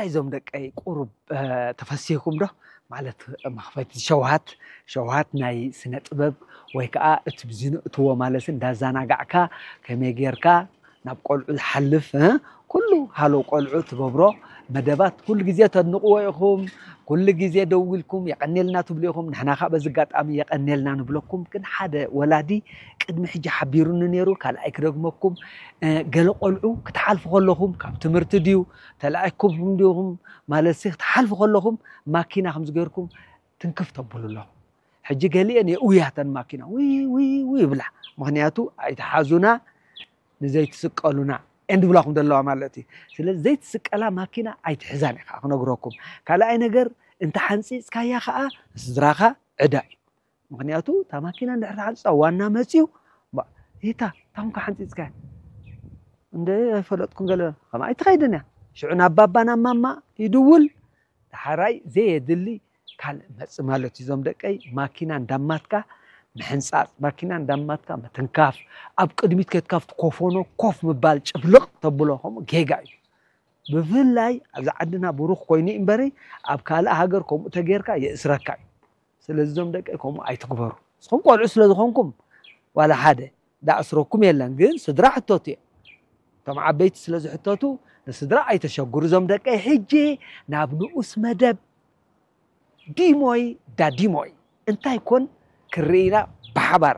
እዞም ደቀይ ቁሩብ ተፈሲህኩም ዶ? ማለት መኽፈቲ ሸውሃት ሸውሃት ናይ ስነ ጥበብ ወይ ከዓ እቲ ብዝንእትዎ ማለት እንዳዘናጋዕካ ከመይ ጌርካ ናብ ቆልዑ ዝሓልፍ ኩሉ ሃሎ ቆልዑ ትገብሮ መደባት ኩሉ ግዜ ተድንቕዎ ኢኹም። ኩሉ ግዜ ደው ኢልኩም የቐኔልና ትብሉ ኢኹም። ንሕና ከዓ በዚ ኣጋጣሚ የቐኔልና ንብለኩም። ግን ሓደ ወላዲ ቅድሚ ሕጂ ሓቢሩኒ ነይሩ፣ ካልኣይ ክደግመኩም። ገለ ቆልዑ ክትሓልፉ ከለኹም ካብ ትምህርቲ ድዩ ተላኢኩም ድኹም ማለት ክትሓልፉ ከለኹም ማኪና ከምዚ ገይርኩም ትንክፍ ተብሉ ኣለኹም። ሕጂ ገሊአን የእውያተን ማኪና ውይ ውይ ውይ ይብላ። ምኽንያቱ ኣይትሓዙና ንዘይትስቀሉና እንድብላኹም ዘለዋ ማለት እዩ። ስለዚ ዘይትስቀላ ማኪና ኣይትሕዛን እየ ከዓ ክነግረኩም። ካልኣይ ነገር እንተ ሓንፂፅካያ ከዓ ስድራኻ ዕዳ እዩ። ምኽንያቱ እታ ማኪና እንድሕር ተሓንፅፃ ዋና መፅዩ ይታ ታምካ ሓንፂፅካያ እንደ ኣይፈለጥኩም ገለ ከም ኣይትኸይድን እያ። ሽዑ ናብ ባባ ናብ ማማ ይድውል። ዳሕራይ ዘየድሊ ካልእ መጽእ ማለት እዩ። እዞም ደቀይ ማኪና እንዳማትካ ምሕንጻጽ፣ ማኪና እንዳማትካ ምትንካፍ፣ ኣብ ቅድሚት ከድካ ኣብቲ ኮፎኖ ኮፍ ምባል ጭፍልቕ ተብሎ ከምኡ ጌጋ እዩ። ብፍላይ ኣብዚ ዓድና ብሩኽ ኮይኑ እምበሪ ኣብ ካልእ ሃገር ከምኡ ተጌርካ የእስረካ እዩ። ስለዚ እዞም ደቀይ ከምኡ ኣይትግበሩ። ንስኹም ቆልዑ ስለ ዝኾንኩም ዋላ ሓደ ዳእስረኩም የለን፣ ግን ስድራ ሕተቱ እዮም። እቶም ዓበይቲ ስለ ዝሕተቱ ንስድራ ኣይተሸግሩ። እዞም ደቀይ ሕጂ ናብ ንኡስ መደብ ዲሞይ ዳዲሞይ እንታይ ኮን ክርኢና ብሓባር